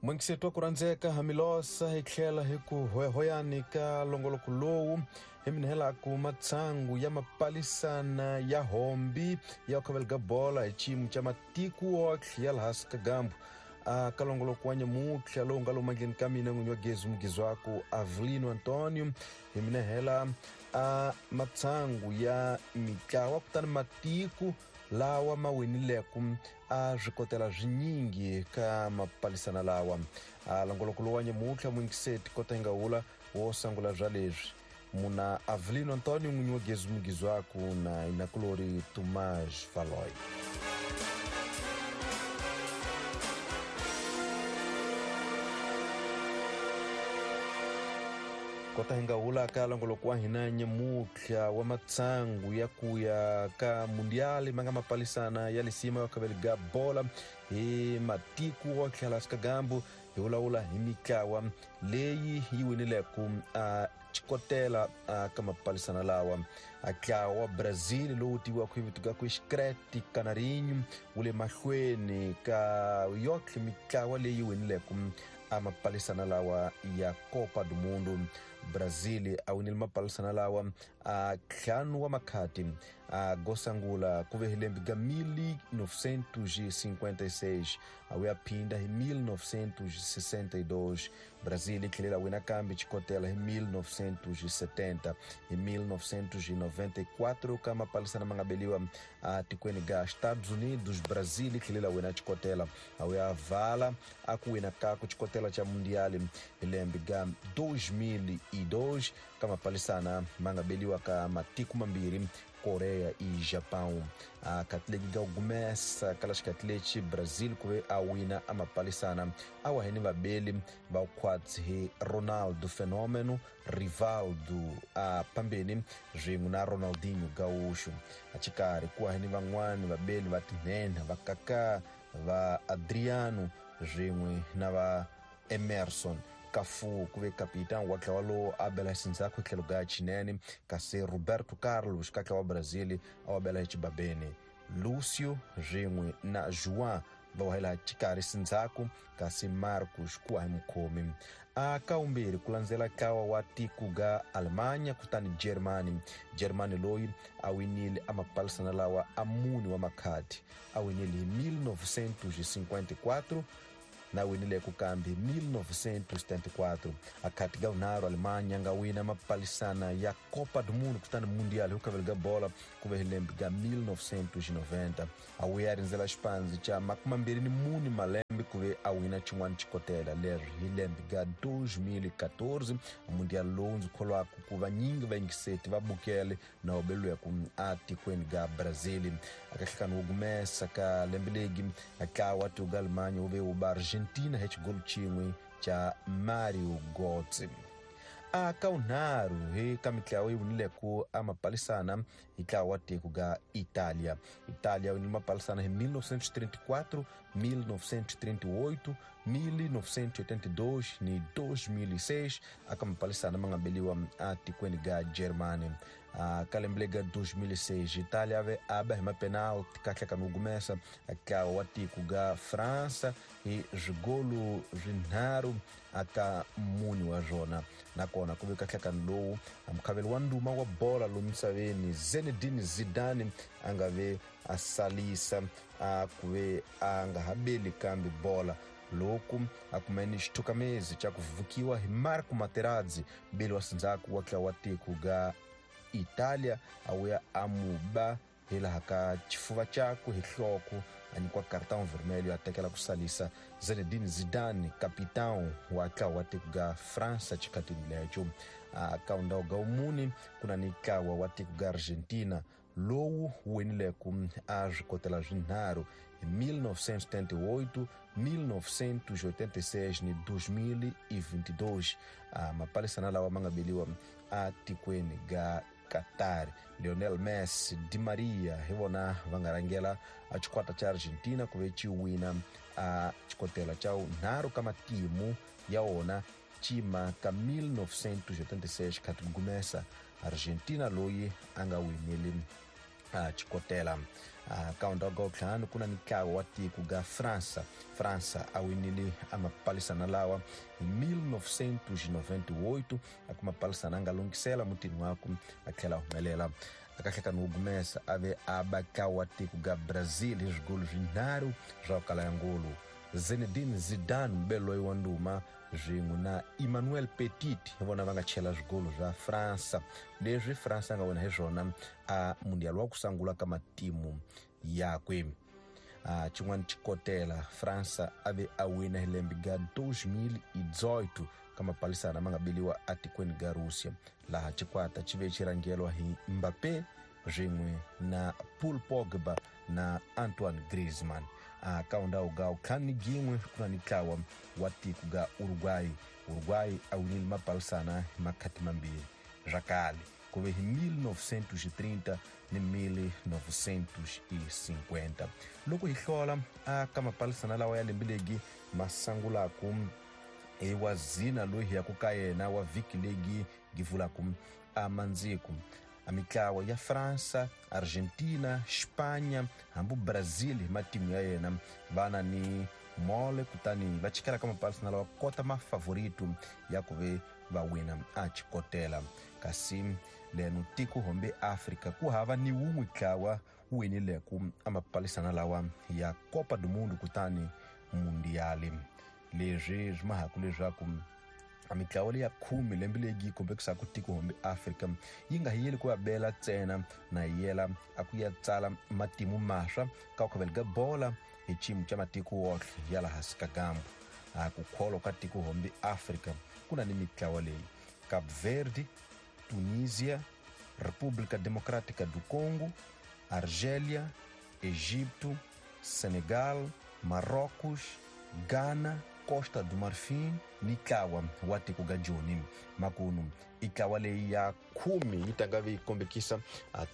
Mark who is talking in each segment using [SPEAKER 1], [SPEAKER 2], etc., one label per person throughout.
[SPEAKER 1] N'wingiseti wa ku rhandzeka hamilosa hi tlhela hi ku hoyahoyani ka longoloko lowu hi minhelaku matshangu ya mapalisana ya hombi ya khavela ga bola hi xiyimo xa matiko wotlhe ya laha Sikagambu a ka longoloko wa nyamutlha lowu nga lomu mandleni ka mina n'winyi wa gezi mugizwaku Avelino Antonio hi minehela a matshangu ya mitlawa kutani matiko lawa ma winileku a swi kotela swinyingi ka mapalisana lawa. A longoloko lowu wa nyamutlha mwingiseti kota hi nga wula wo sangula bya leswi muna Avelino Antonio n'winyi wa gezi mugizwaku na inakulori Tomás Valoy. Kota hi nga wula ka longoloko wa hina nyamutlha wa matsangu ya ku ya ka mundiali ma nga mapalisana ya lisima ya khaveli ga bola hi matiko wo tlhela Sikagambu hi vulavula hi mitlawa leyi yi winileku a xikotela a ka mapalisana lawa. A ntlawa wa Brazil lowu tiviwaka hi vito ga ku Xicrete Canarinho wu le mahlweni ka yotlhe mitlawa leyi winileku a mapalisana lawa ya Copa do Mundo. Brazil a winile mapalisana lawa a ntlhanu wa makhati a gosangula ku ve hi lembe ga 1956 a wu ya phinda hi 1962. Brazil yi tlhelela wina kambe xikotela hi 1970 hi 1994 ka mapalisana ma nga beliwa a tikweni ga Estados Unidos. Brazil yi tlhelela wina xikotela a wu ya vala a ku wina kaku xikotela xa mundiali hi lembe ga 2002 ka mapalisana ma nga beliwa ka matiko mambirhi Korea i Japão. A khatleki ga gumesa kala xikhathi lexi Brazil ku ve a wina a mapalisana a wa hini vabeli va khwatsi hi Ronaldo Fenômeno, Rivaldo a phambeni swin'we na Ronaldinho Gaúcho. A xikarhi ku wa hini van'wani vabeli va tinhenha va Kaká, va Adriano swin'we na va Emerson. Cafu ku ve kapitão wa ntlawa lowu a bela xindzhaku tlhelo ga xinene, kasi Roberto Carlos ka ntlawa wa Brazil a wa bela xibabeni. Lucio swin'we na João va wahela xikarhi xindzhaku, kasi Marcos ku wa hi mukhomi. A ka wumbirhi ku landzela ntlawa wa tiko ga Alemanha kutani Germany. Germany loyi a winile a mapalisana lawa a mune wa makhadi, a winile hi 1954 na winile ku kambe 1974. A khati ga vunharhu Alemanha nga wina mapalisana ya Copa do Mundo kutani Mundial hi khaveli ga bola ku ve hi lembe ga 1990. A wuya rindzela xipandzi xa 24 malembe ku ve a wina xin'wana xikotela leri hi lembe ga 2014. Mundial lowu ndzi kholwaka ku vanyingi vayingiseti va bukele na wabeliwe ku a tikweni ga Brazil. A ka nhlekani wo gumesa ka lembe legi a ntlawa tiko ga Alemanha wu ve wu ba Argentina hi xigolo xin'we xa Mario Götze. A ka wunharhu hi ka mitlawa yi winileku a mapalisana hi ntlawa wa tiko ga Italia. Italia winile mapalisana hi 1934, 1938, 1982 ni 2006 aka mapalisana ma nga beliwa a tikweni ga Germany. A ka lembe lega 2006 Italia ave aba hi mapenalti ka hlekani wo gumesa ntlawa wa tiko ga Fransa hi swigolo swinharhu aka mune wa swona. Nakona ku ve ka hlekani lowu mukhaveli wa ndhuma wa bola lomu misaveni Zinedine Zidane a nga ve a salisa a ku ve a nga ha beli kambe bola loku a kumeni xithukamezi xa ku vukiwa hi Marco Materazzi beli wa sindzhaku wa ntlawa wa tiko ga Italia a wuya a mu ba hi laha ka xifuva xakwe hi nhloko a nyikiwa cartão vermelho a tekela ku salisa Zinedine Zidane capitão wa ntlawa wa tiko ga Fransa xikhatini lexo. A ka ndhawu ga wumune ku na ni ntlawa wa tiko ga Argentina lowu winileku a swikotela swinharhu hi 1978, 1986 ni 2022. A mapalisana lawa ma nga beliwa a tikweni ga Qatar. Lionel Messi, Di Maria hi vona va nga rhangela a xikwata xa Argentina ku ve xi wina a xikotela xa nharhu ka matimu ya wona cima ka 1986 khati gumesa Argentina loyi a nga winile a xikotela. Ka ndhawu ka ntlhanu ku na ntlawa wa tiko ga Fransa. Fransa a winile amapalisana lawa hi 1998, a ku mapalisana a nga lunghisela mutini waku a tlhela a humelela. Akahlekani wo gumesa a ve a ba ntlawa wa tiko ga Brazil hi swigolo swinharhu swa ku kala ya ngolo. Zinedine Zidane, mubeli loyi wa ndhuma, swin'we na Emmanuel Petit hi vona va nga chela swigolo swa Fransa, leswi Fransa a nga wina hi swona a mundial wa ku sungula ka matimu yakwe. Xin'wana xikotela, Fransa a ve a wina hi lembe ga 2018 ka mapalisana ma nga beliwa atikweni ga Russia, laha xikwata xi ve xi rhangeriwa hi Mbappé swin'we na Paul Pogba na Antoine Griezmann. Ka ndhawu ga ntlhanu ni gin'we ku na ntlawa wa tiko ga Uruguay. Uruguay a winile mapalisana hi makhati mambirhi swa kale, ku ve hi 1930 ni 1950. Loko hi hlola a ka mapalisana lawa ya lembe legi ma sangulaku hi wa zina loyi hi yaku ka yena wa vhiki legi gi vulaku a mandziku, a mitlawa ya Fransa, Argentina, Spanya hambi Brazil hi matimu ya yena va na ni mole, kutani va chikela ka mapalisana lawa kota mafavorito ya ku ve va wina a xikotela. Kasi leno tiko hombe Afrika ku hava ni wun'we ntlawa wu winileku a mapalisana lawa ya Copa do Mundo kutani Mundiali. Leswi swi mahaku leswaku a mitlawa leya khume lembe leyi yi kombekisaka tiko hombe Afrika yi nga hi yeli ku ya bela ntsena, na yela a ku ya tsala matimu maswa ka ku khavela ka bola hi xiyimo xa matiko wohle ya laha hansi ka gambu. A ku kholwa ka tiko hombe Afrika ku na ni mitlawa leyi: Cape Verde, Tunisia, República Democrática do Congo, Argélia, Egipto, Senegal, Marrocos, Ghana, Costa do Marfim ni ntlawa wa tiko ga Joni. Makunu i ntlawa leyi ya khume yi tanga yi kombekisa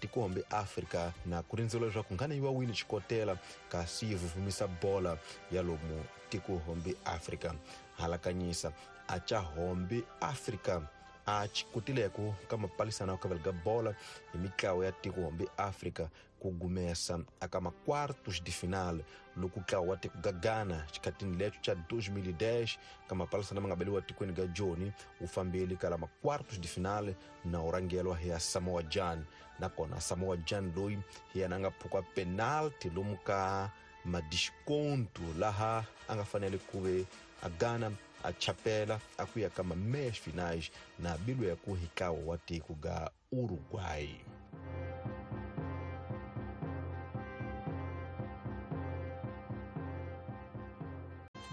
[SPEAKER 1] tiko hombe Afrika na ku rindzela leswaku nghana yi va wini xikotela, kasi yi vuvumisa bola ya lomu tiko hombe Afrika. Halakanyisa a ca hombe Afrika a xikotileku ka mapalisana ya ku khavela ka bola hi mitlawa ya tiko hombe Afrika ku gumesa aka ma-quartos de final, loko ntlawa wa tiko ga Ghana xikhatini lexo xa 2010 ka mapalisana ma nga beliwa tikweni ga Joni wu fambeli ka la ma-quartos de final na wu rhangelwa hi ya Samoa Gyan. Nakona Samoa Gyan loyi hi yena a nga phuka penalty lomu ka madisconto, laha a nga fanele ku ve a Ghana a chapela a ku ya ka ma-meias finais na bilu ya ku hi ntlawa wa tiko ga Uruguay.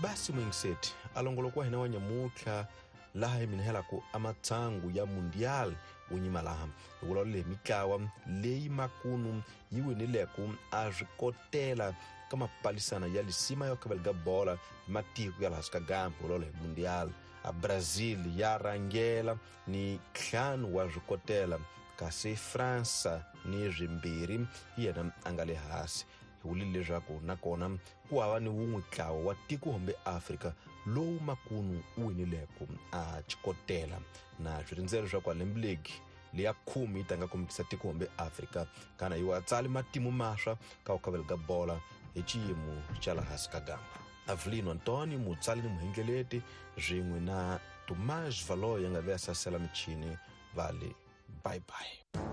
[SPEAKER 1] Basi mwingiseti alongoloko wa hina wa nyamutlha laha hi minihelaku amatsangu ya mundial wu nyima laha hi vulavula hi mitlawa leyi makunu yi winileku a swi kotela ka mapalisana ya lisima ya khavela ka bola hi matiko ya laha hansi ka gambu, vulavula hi mundial. A Brazil ya rhangela ni ntlhanu wa swikotela, kasi Fransa ni swimbirhi hi yena a nga le hansi. Hi vulile leswaku nakona ku hava ni wun'we ntlawa wa tiko hombe Afrika lowu makunu wu winileku a xikotela, na swi rindzela leswaku a lembe legi leya khume yi tanga kombekisa tiko hombe Afrika kana yi wa tsali matimu maswa ka ku khavela ka bola hi xiyimo xa laha hansi ka gamba. Avelino Antonio, mutsali ni muhengeleti, swin'we na Tomás Valoy a nga ve a sasela michini, va le bye bye.